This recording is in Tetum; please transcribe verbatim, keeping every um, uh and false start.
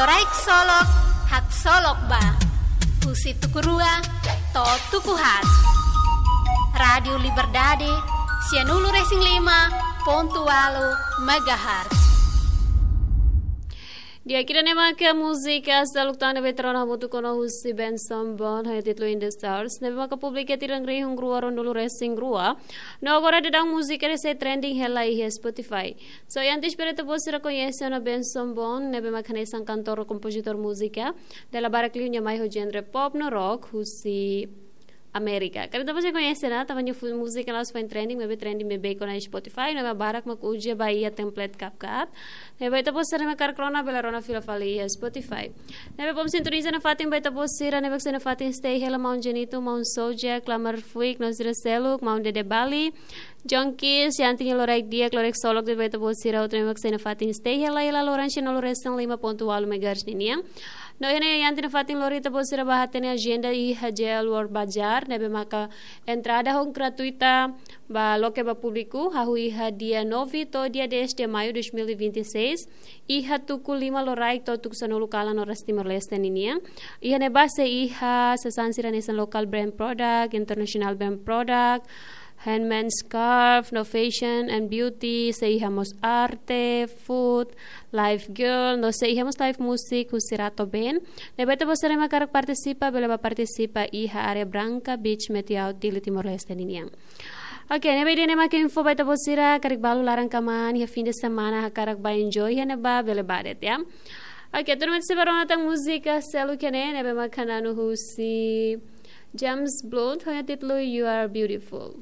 Rai-Solok, haksolok ba. Husi tuku rua to'o tuku haat. Rádiu Liberdade, sianulu-resin-lima pontu ualu megahertz. Di'ak, ida-ne'e maka múzika seluk tan ne'ebé ita rona hamutuk ona husi Benson Boone, ho títulu In the Stars, ne'ebé maka publika tinan rihun rua ruanulu-resin-rua. No agora daudaun múzika ne'e sei trending hela iha Spotify. So, antes para ita-boot sira koñese ona Benson Boone, ne'ebé maka hanesan kantór, kompozitór múzika, dala barak liu nia mai ho genre pop no rock husi Amérika. Karik ita-boot sira koñese ona, tanba nia múzika la'ós foin trending, maibé trending beibeik ona Spotify, ne'ebé barak mak uza ba iha template CapCut. Ne'ebé ita-boot sira ne'ebé hakarak rona, bele rona fila fali iha Spotify. Ne'ebé bom sintoniza nafatin ba ita-boot sira ne'ebé sei nafatin stay hela, maun Jenito, maun Soja, Klamar Fuik, no sira seluk, maun Dede Bali, John Kiss, Yanti nia loraik di'ak, loraik solok de'it ba ita-boot sira hotu ne'ebé sei nafatin stay hela, hela loran sianulu-resin-lima pontu ualu megahertz ninian. No iha ne'e Yanti nafatin lori ita-boot sira ba hatene ajenda iha J L World Bazaar, ne'ebé maka entrada ho gratuita ba loke ba públiku, hahú iha dia nove to'o dia dez de maio dois mil e vinte e seis, iha tuku lima loraik to'o tuku sanulu kalan oras Timor-Leste ninian. Iha ne'ebá sei iha sasán sira hanesan local brand product, international brand product, handmade scarf, no fashion and beauty, sei iha mós arte, food, live girl, no sei iha mós live music husi Rato Band. Ne'ebé ita-boot sira ne'ebé hakarak partisipa, bele bá partisipa iha área Branca Beach Meeting Out, Dili, Timor-Leste ninian. Oke, ne'ebé ida-ne'e maka info ba ita-boot sira, karik balu laran kmaan iha fim de semana hakarak bá enjoy iha ne'ebá, bele bá de'it, ya. Oke, tuirmai ita sei bá rona tan múzika seluk ne'e, ne'ebé maka na'an husi James Blunt, ho títulu You Are Beautiful.